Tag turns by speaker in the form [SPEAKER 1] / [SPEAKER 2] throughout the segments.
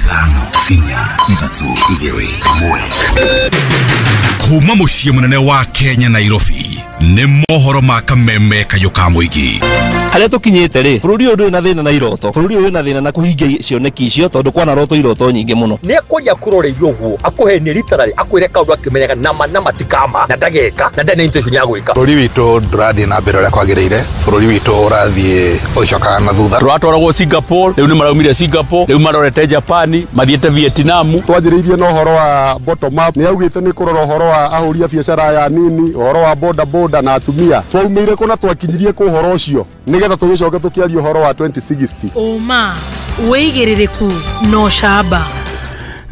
[SPEAKER 1] 5 4 3 2 1. Kuma muciĩ mũnene wa Kenya Nairobi nĩ mohoro ma kameme kayũ ka mũingĩ.
[SPEAKER 2] Harĩa tũkinyĩte rĩ, bũrũri ũyũ ndũrĩ na thĩna na iroto, bũrũri ũyũ wĩna thĩna na kũhingia cioneki icio tondũ kwana roto iroto nyingĩ mũno.
[SPEAKER 3] Nĩ akwaria kũroreirio ũguo akũhenie literally akwĩre kaũndũ akĩmenyaga nama na matikama na ndageka na ndarĩ na intention ya gwĩka.
[SPEAKER 4] Bũrũri witũ ndũrathiĩ na mbere ũrĩa kwagĩrĩire, bũrũri witũ ũrathiĩ ũgĩcokaga na thutha.
[SPEAKER 5] Tũratwaragwo Singapore, rĩu nĩ maraumire Singapore, rĩu marorete Japan, mathiĩte Vietnam.
[SPEAKER 6] Twanjĩrĩirie na ũhoro wa bottom up, nĩ augĩte nĩ kũrora ũhoro wa ahũri a biacara aya nini, ũhoro wa boda boda na atumia. Twaumĩire kũ na twakinyirie kũ ũhoro ũcio nĩgetha tũgĩcoke tũkĩaria ũhoro wa 2060.
[SPEAKER 7] Ũma, wĩigĩrĩrĩku na ũcamba.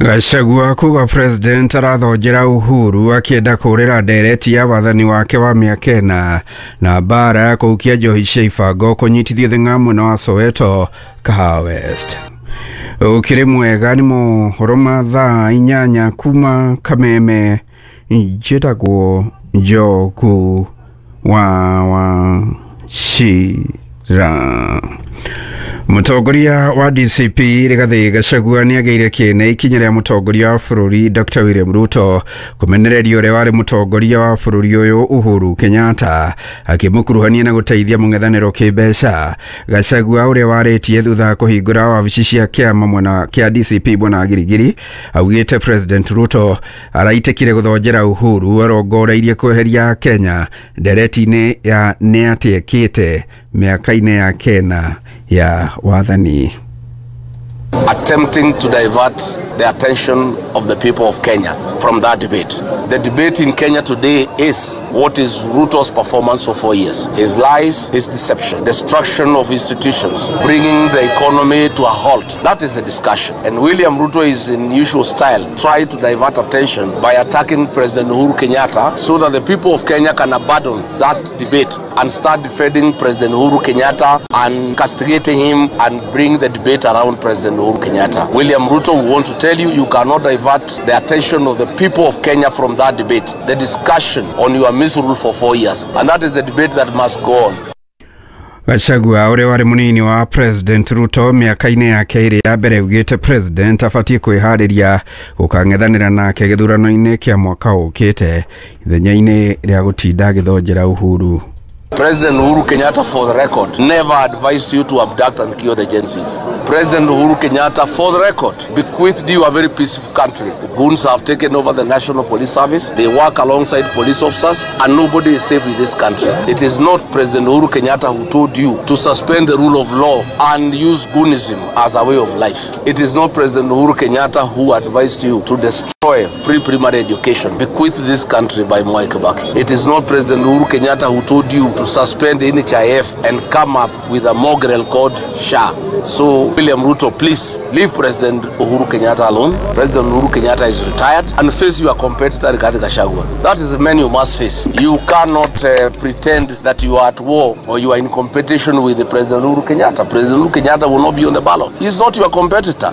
[SPEAKER 8] Gachagua kuga president arathonjera Uhuru akienda kũrĩra ndereti ya wathani wake wa mĩaka ĩna na mbara ya kũhukia njohi cia ibango kũnyitithio thing'a mwena wa Soweto Kahawa West. Ũkĩrĩ mwega nĩ mohoro ma thaa 8 kuma Kameme. Njĩtagwo Njoku wa Wachira. Mũtongoria wa DCP Rigathi Gachagua nĩagĩire kĩene ikinya rĩa mũtongoria wa bũrũri Dr. William Ruto kũmenereria ũrĩa warĩ mũtongoria wa bũrũri ũyũ Uhuru Kenyatta akĩmũkuruhania na gũteithia mũng'ethanĩro kĩmbeca. Gachagua ũrĩa warĩtie thutha wa kũhingũra wabici cia kĩama mwena kĩa DCP mwena wa Girigiri augĩte President Ruto araitĩkire gũthonjera Uhuru arongoreirie kweheria Kenya ndereti-inĩ ya nĩ atĩ ekĩte mĩaka-inĩ ya kena ya wathani.
[SPEAKER 9] Attempting to divert the attention of the people of Kenya from that debate. The debate in Kenya today is what is Ruto's performance for 4 years? His lies, his deception, destruction of institutions, bringing the economy to a halt. That is the discussion. And William Ruto is in usual style, trying to divert attention by attacking President Uhuru Kenyatta so that the people of Kenya can abandon that debate and start defending President Uhuru Kenyatta and castigating him and bring the debate around President Uhuru Kenyatta. William Ruto, we want to tell you, you cannot divert the attention of the people of Kenya from that debate, the discussion on your misrule for 4 years. And that is the debate that must go on.
[SPEAKER 8] Gachagua ũrĩa warĩ mũnini wa President Ruto mĩaka-inĩ yake ĩrĩ ya mbere augĩte President abatiĩ kwĩharĩria gũkang'ethanĩra nake gĩthurano-inĩ kĩa mwaka ũkĩte ithenya-inĩ rĩa gũtinda agĩthonjera Uhuru.
[SPEAKER 9] President Uhuru Kenyatta, for the record, never advised you to abduct and kill the Gen Zs. President Uhuru Kenyatta, for the record, bequeathed you a very peaceful country. Goons have taken over the National Police Service. They work alongside police officers, and nobody is safe in this country. It is not President Uhuru Kenyatta who told you to suspend the rule of law and use goonism as a way of life. It is not President Uhuru Kenyatta who advised you to destroy free primary education bequeathed this country by Mwai Kibaki. It is not President Uhuru Kenyatta who told you to suspend NHIF and come up with a mongrel called SHA. So, William Ruto, please leave President Uhuru Kenyatta alone. President Uhuru Kenyatta is retired, and face your competitor Rigathi Gachagua. That is the man you must face. You cannot pretend that you are at war or you are in competition with the President Uhuru Kenyatta. President Uhuru Kenyatta will not be on the ballot. He is not your competitor.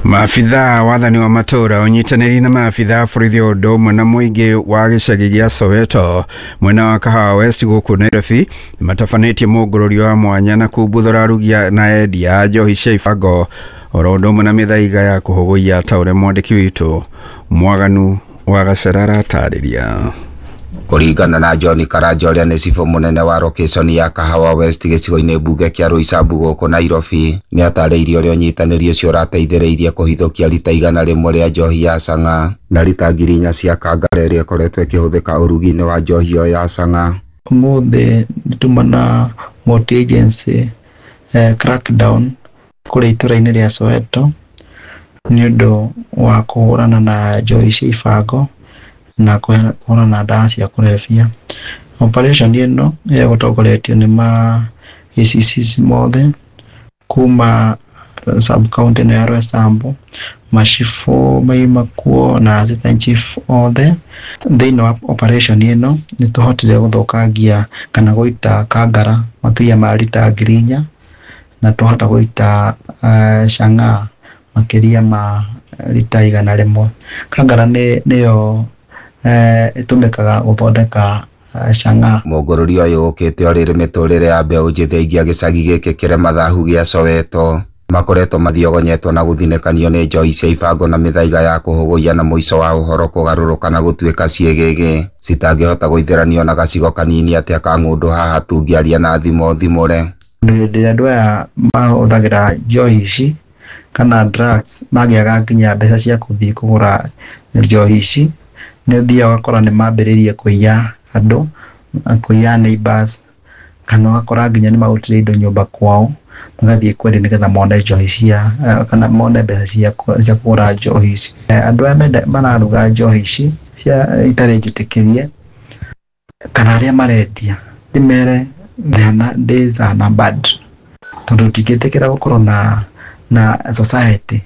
[SPEAKER 8] Maabithaa wathani wa matũra ũnyitanĩri na maabithaa borithi ũndũ ũmwe na mũingĩ wa gĩcagi gĩa Soweto mwena wa Kahawa West gũkũ Nairobi matabanĩtie mũngũrũrio wa mwanya na kumbuthũra arugi na endia a njohi cia ibango oro ũndũ ũmwe na mĩthaiga ya kũhũgũiya ta ũrĩa mwandĩki witũ Mwaganu wa Gacera aratarĩria.
[SPEAKER 10] Kũringana na John Karanja ũrĩa nĩ cibũ mũnene wa location ya Kahawa West gĩcigo-inĩ mbunge kĩa Roysambu gũkũ Nairobi, nĩ atarĩirie ũrĩa ũnyitanĩri ũcio ũrateithĩrĩirie kũhithũkia rita 100 rĩa njohi ya chang'aa na rita 4,000 cia kangara ĩrĩa ĩkoretwo ĩkĩhũthĩka ũrugi-inĩ wa njohi ĩyo ya chang'aa.
[SPEAKER 11] Ũmũthĩ nĩtuma na multi agency crackdown kũrĩa itũra-inĩ rĩa Soweto nĩ ũndũ wa kũhũrana na njohi cia ibango na kũhũrana na ndawa cia kũrebia. Operation ĩno ĩgũtongoretio nĩ ma ACCs mothe kuma sub county ĩno ya Roysambu, macibũ maima kuo na assistant chief othe. Thĩinĩ wa operation ĩno nĩ tũhotire gũthũkangia kana gũita kangara makĩria ma rita 4,000 na twahota gũita chang'aa makĩria ma rita 100. Kangara nĩyo ĩtũmĩkaga gũthondeka chang'aa.
[SPEAKER 10] Mũngũrũri ũyũ ũkĩte o rĩrĩ mĩtũrĩre ya mbeũ njĩthĩ aingĩ a gĩcagi gĩkĩ kĩrĩ mathahu gĩa Soweto Makoretwo mathiogonyetwo na gũthinĩkanio nĩ njohi cia ibango na mĩthaiga ya kũhũgũia na mũico wa ũhoro kũgarũrũka na gũtuĩka ciĩgĩgĩ citangĩhota gũithĩranio na gacigo kanini atĩa ka ng'ũndũ haha tũngĩaria na thimo thimũre.
[SPEAKER 11] Hĩndĩ ĩrĩa andũ aya mahũthagĩra njohi ici kana drugs magĩaga nginya mbeca cia kũthiĩ kũgũra njohi ici, nĩ ũthiaga ũgakora nĩ mambĩrĩirie kũiya andũ, kũiya neighbors, kana ũgakora nginya nĩ marutire indo nyũmba kwao magathiĩ kwendia nĩgetha mone njohi cia kana mone mbeca cia kũgũra njohi ici. Andũ aya mararuga njohi ici cia itarĩ njĩtĩkĩrie kana arĩa marendia ndĩmere days are numbered, tondũ ndingĩtĩkĩra gũkorwo na society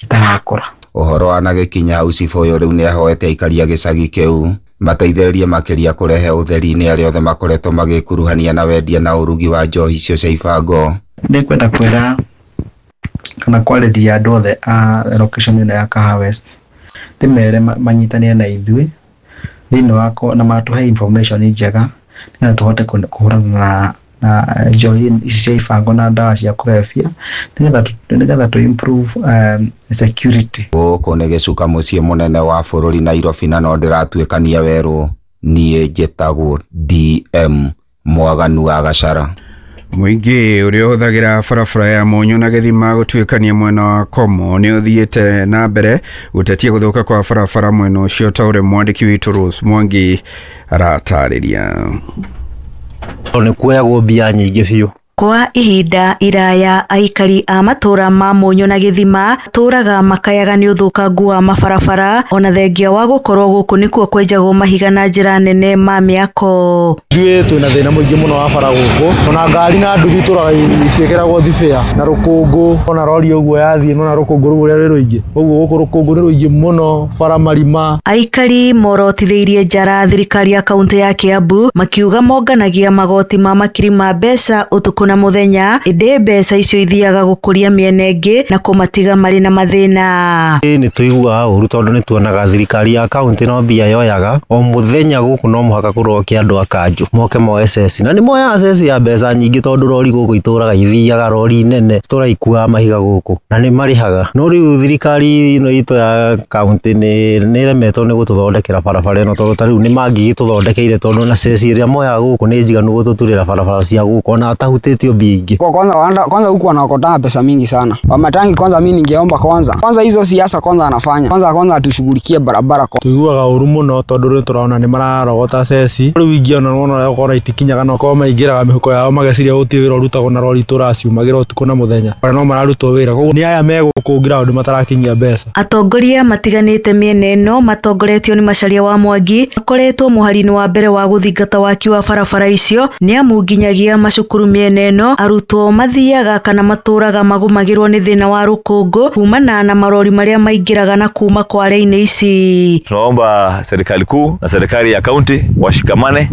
[SPEAKER 11] itarakũra.
[SPEAKER 10] Ũhoro wanagĩkinya hau cibũ ũyũ rĩu nĩahoete aikari a gĩcagi kĩu mateithĩrĩrie makĩria kũrehe ũtheri-inĩ arĩa othe makoretwo magĩkuruhania na wendia na ũrugi wa njohi icio cia ibango.
[SPEAKER 11] Nĩngwenda kwĩra kana kwarĩria andũ othe a location ĩno ya Kahawa West, ndĩmere manyitanĩre na ithuĩ thĩinĩ wa na matũhe information njega nĩgetha tũhote kũhũrana na njohi ici cia ibango na ndawa cia kũrebia nĩgetha tũ improve security.
[SPEAKER 10] Gũkũ nĩ gĩcuka mũciĩ mũnene wa bũrũri Nairobi na no ndĩratuĩkania werũ. Niĩ njĩtagwo DM Mwaganu wa Gachara.
[SPEAKER 8] Mũingĩ ũrĩa ũhũthagĩra barabara ya Mũnyũ na Gĩthima gũtuĩkania mwena wa Komo nĩ ũthiĩte na mbere gũtetia gũthũka kwa barabara mwena ũcio ta ũrĩa mwandĩki witũ Rose Mwangi aratarĩria.
[SPEAKER 12] Nĩ kuoyagwo mbia nyingĩ biũ.
[SPEAKER 7] Kwa ihinda iraya aikari a matũra ma Mũnyũ na Gĩthima tũraga makayaga nĩ ũthũkangu wa mabarabara ona thengia wa gũkorwo gũkũ nĩkuo kwenjagwo mahiga na njĩra nene ma mĩako.
[SPEAKER 13] Ithuĩ twĩna thĩna mũingĩ mũno wa bara gũkũ, ona ngari na nduthi tũraga ciĩkĩragwo thibĩa na rũkũngũ, ona rori ũguo yathiĩ nona rũkũngũ rũu ũrĩa rwĩ rũingĩ, ũguo gũkũ rũkũngũ nĩ rũingĩ mũno, bara marima.
[SPEAKER 7] Aikari morotithĩirie njara thirikari ya kaunti ya Kiambu makiuga monganagia magoti ma makiri ma mbeca ũtukũ na muthenya, ĩndĩ mbeca icio ithiaga gũkũria mĩena ĩngĩ na kũmatiga marĩ na mathĩna.
[SPEAKER 12] Nĩ tũiguaga ũru tondũ nĩ tuonaga thirikari ya kaunti no mbia yoyaga o mũthenya gũkũ no mũhaka kũroke andũ a kanjũ moke moe ceci, na nĩ moyaga ceci ya mbeca nyingĩ tondũ rori gũkũ itũraga ithiaga rori nene itũraga ikuaga mahiga gũkũ na nĩ marĩhaga. No rĩu thirikari ĩno itũ ya kaunti nĩ ĩremetwo nĩ gũtũthondekera barabara ĩno tondũ ta rĩu nĩ mangĩgĩtũthondekeire tondũ na ceci ĩrĩa moyaga gũkũ nĩ njiganu gũtũturĩra barabara cia gũkũ ona atahutĩtio.
[SPEAKER 14] Kwanza huku wanaokota pesa mingi sana. Wamatangi kwanza mimi ningeomba kwanza hizo siasa kwanza anafanya. Kwanza atushughulikie barabara.
[SPEAKER 13] Tuiguaga ũru mũno tondũ rĩu tũraona nĩ mararogota ceci. Rĩu ingĩ ona wona ũrĩa ũkora itikinyaga no korwo maingĩraga mĩhuko yao mageciria gũtirĩ wĩra ũrutagwo na rori tũraciumagĩra ũtukũ na mũthenya. Ona no mararutwo wĩra. Koguo nĩ aya megũkũ ground matarakinyia mbeca.
[SPEAKER 7] Atongoria matiganĩte mĩena ĩno matongoretio nĩ Macharia wa Mwangi makoretwo mũhari-inĩ wa mbere wa gũthingata waki wa barabara icio nĩ amu nginyagia macukuru mĩena ĩno arutwo mathiaga kana matũraga magũmagĩrwo nĩ thĩna wa rũkũngũ kumana na marori marĩa maingĩraga na kuma kware-inĩ ici.
[SPEAKER 15] Tunaomba serikali kuu na serikali ya kaunti washikamane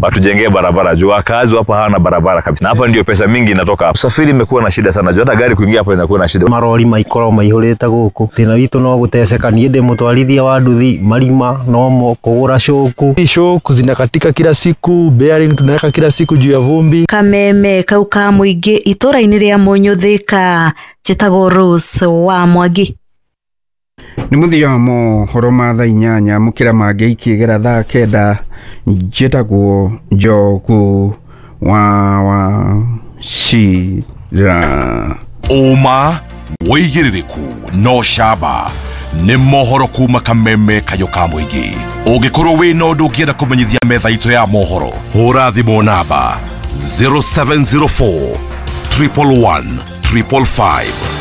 [SPEAKER 15] watujengee barabara juu wakazi hapa hawana barabara kabisa, na hapa ndio pesa mingi inatoka. Usafiri imekuwa na shida sana juu hata gari kuingia hapa inakuwa na shida.
[SPEAKER 12] Marori maikorwo maihũrĩte gũkũ, thĩna witũ no gũteceka. Niĩ ndĩ mũtwarithia wa nduthi, marima nomo kũgũra shoku,
[SPEAKER 13] shoku zinakatika kila siku, bearing tunaweka kila siku juu ya vumbi.
[SPEAKER 7] Kameme kau ka mũingĩ itũra-inĩ rĩa Mũnyũ Thika, njĩtagwo Rose wa Mwangi.
[SPEAKER 8] Nĩ mũthia wa mohoro ma thaa 8 mũkĩra mangĩ ikĩgera thaa 9. Njĩtagwo Njogu wa Wachira.
[SPEAKER 1] Ũma wĩigĩrĩrĩku no camba nĩ mohoro kuma kameme kayo ka mũingĩ. Ũngĩkorwo wĩna ũndũ ũngĩenda kũmenyithia metha itũ ya mohoro, hũra thimũ namba 0704 111 555.